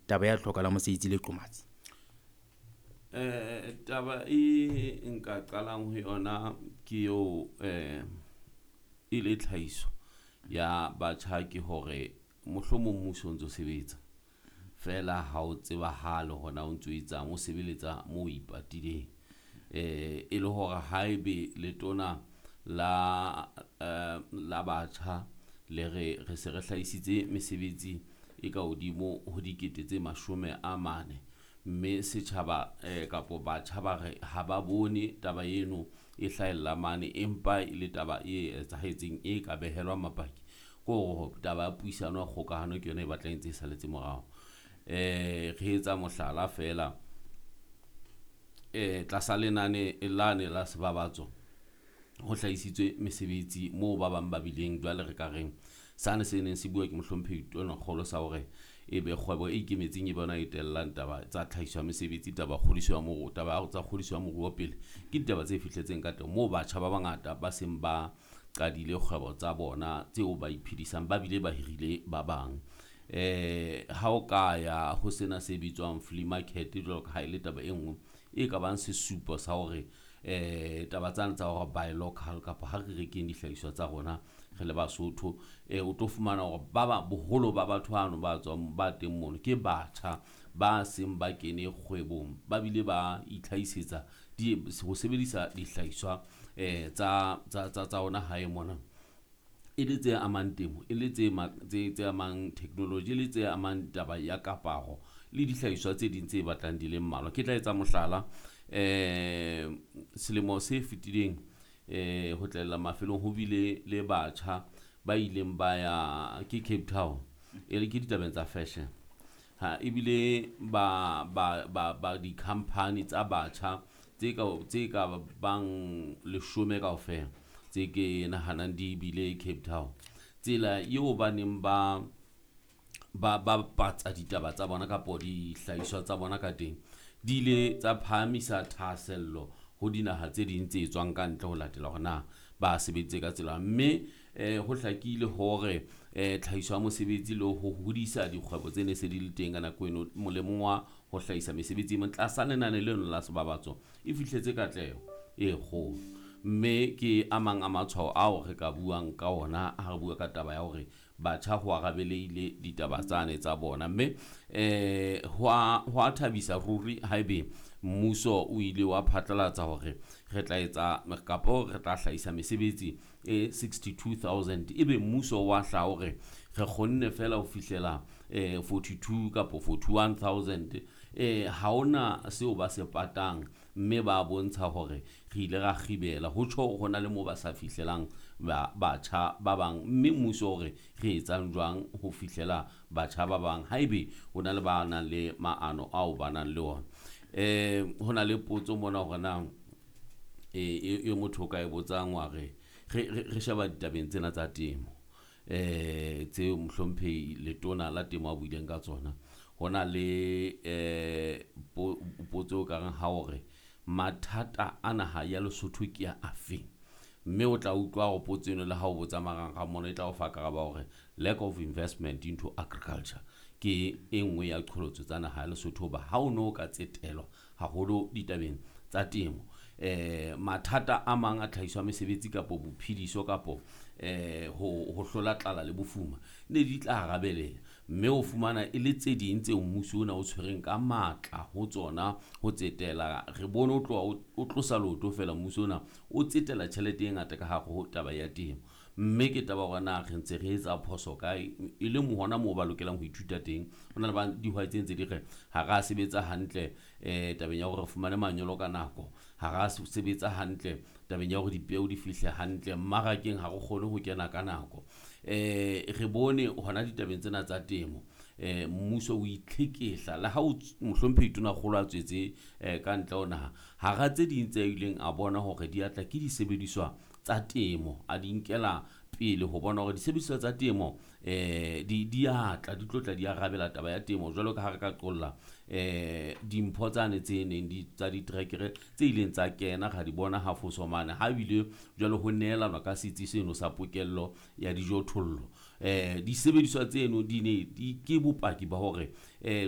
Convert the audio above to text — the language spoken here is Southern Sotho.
Taba ya hloka la mosebetsi le qomatsi. Taba e nka qalang ho yona ke eo e le tlhahiso ya batjha ke hore mohlomong mmuso o ntso sebetsa fela ha o tsebahale hore na o ntso etsang o sebeletsa mo o ipatileng. E le hore haebe letona la batjha le re re se re hlahisitse mesebetsi e ka hodimo ho dikete tse 40, mme setjhaba kapo batjha ba re ha ba bone taba eno e hlahella mane, empa e le taba e etsahetseng e ka behelwa mabaki ke hore taba ya puisano ya kgokahano ke yona e batlang e ntse e salletse morao. Re etsa mohlala fela tlasa lenane lane la sebabatso ho hlahisitswe mesebetsi moo ba bang ba bileng jwale re ka reng sane se neng se bua ke mohlomphehi Tonakgolo sa hore ebe kgwebo e ikemetseng e bona e tellang taba tsa tlhahiso ya mesebetsi, taba kgodiso ya moruo, taba tsa kgodiso ya moruo pele ke ditaba tse fihletseng ka teng moo batjha ba bangata ba seng ba qadile kgwebo tsa bona tseo ba iphedisang ba bile ba hirile ba bang. Ha o ka ya ho sena se bitswang flea market jwalo ka ha e le taba e nngwe e ka bang sesupo sa hore taba tsane tsa hore buy local kapa ha re rekeng dihlahiswa tsa rona re le Basotho, o tlo fumana hore ba ba boholo ba batho bano ba tswang ba teng mono ke batjha ba seng ba kene kgwebong, ba bile ba itlhahisetsa di ho sebedisa dihlahiswa tsa ona hae mona. E le tse amang temo, e le tse tse amang technology, e le tse amang taba ya kaparo le dihlahiswa tse ding tse batlang di le mmalwa. Ke tla etsa mohlala selemo se fetileng ho tlella mafelong ho bile le batjha ba ileng ba ya ke Cape Town e le ke ditabeng tsa fashion. Ha ebile ba di-company tsa batjha tse ka bang 10 kaofela tse ke nahanang di bile Cape Town. Tsela eo ba neng ba bapatsa ditaba tsa bona kapo dihlahiswa tsa bona ka teng di ile tsa phahamisa thahasello ho dinaha tse ding tse tswang ka ntle ho latela hore na ba sebeditse ka tsela, mme ho hlakile hore tlhahiso ya mosebetsi le ho hodisa dikgwebo tse ne se di le teng ka nako eno molemong wa ho hlahisa mesebetsi e meng tlasa lenane leno la sebabatso e fihletse katleho e kgolo, mme ke a mang a matshwao ao re ka buang ka ona ha re bua ka taba ya hore batjha ho arabeleile ditaba tsane tsa bona. Mme ho a thabisa ruri haebe mmuso o ile wa phatlalatsa hore re tla etsa kapo re tla hlahisa mesebetsi e 62,000, ebe mmuso wa hlaha hore re kgonne fela ho fihlela 42 kapo 41,000. Ha hona seo ba se patang, mme ba bontsha hore re ile ra kgibela ho tjho hore hona le moo ba sa fihlelang batjha ba bang, mme mmuso hore re etsang jwang ho fihlela batjha ba bang haebe ho na le ba nang le maano ao ba nang le ona. Ho na le potso mona hore na e motho o ka e botsang wa re re sheba ditabeng tsena tsa temo tseo mohlomphehi letona la temo a buileng ka tsona. Ho na le potso e ka reng ha hore mathata a naha ya Lesotho ke a afeng, mme o tla utlwa hore potso eno le ha o botsa marangrang mona e tla o fa karabo hore lack of investment into agriculture ke e nngwe ya qholotso tsa naha ya Lesotho, hoba ha o no ka tsetelwa haholo ditabeng tsa temo mathata a mang a tlhahiso ya mesebetsi kapo bophediso kapo ho hlola tlala le bofuma ne di tla arabeleha, mme o fumana e le tse ding tseo mmuso ona o tshwereng ka matla ho tsona ho tsetela. Re bone o tloha o tlosa leoto fela mmuso ona o tsetela tjhelete e ngata ka hare ho taba ya temo, mme ke taba hore na re ntse re etsa phoso kae e leng hona moo ba lokelang ho ithuta teng. Ho na le ba dihwai tse ntse di re ha ra sebetsa hantle tabeng ya hore re fumane manyolo ka nako, ha ra sebetsa hantle tabeng ya hore dipeo di fihle hantle mmarakeng, ha re kgone ho kena ka nako. Re bone hona ditabeng tsena tsa temo mmuso o itlhekehla le ha o mohlomphehi Tonakgolo a tswetse ka ntle ho naha hara tse ding tse ileng a bona hore di atla ke disebediswa tsa temo, a di nkela pele ho bona hore disebediswa tsa temo di atla di tlo tla di arabela taba ya temo jwalo ka ha re ka qolla dimpho tsane tse neng di tsa ditrekere tse ileng tsa kena ra di bona ha foso mane ha bile jwale ho nehelanwa ka setsi seno sa pokello ya dijothollo. Disebediswa tseno di ne di ke bopaki ba hore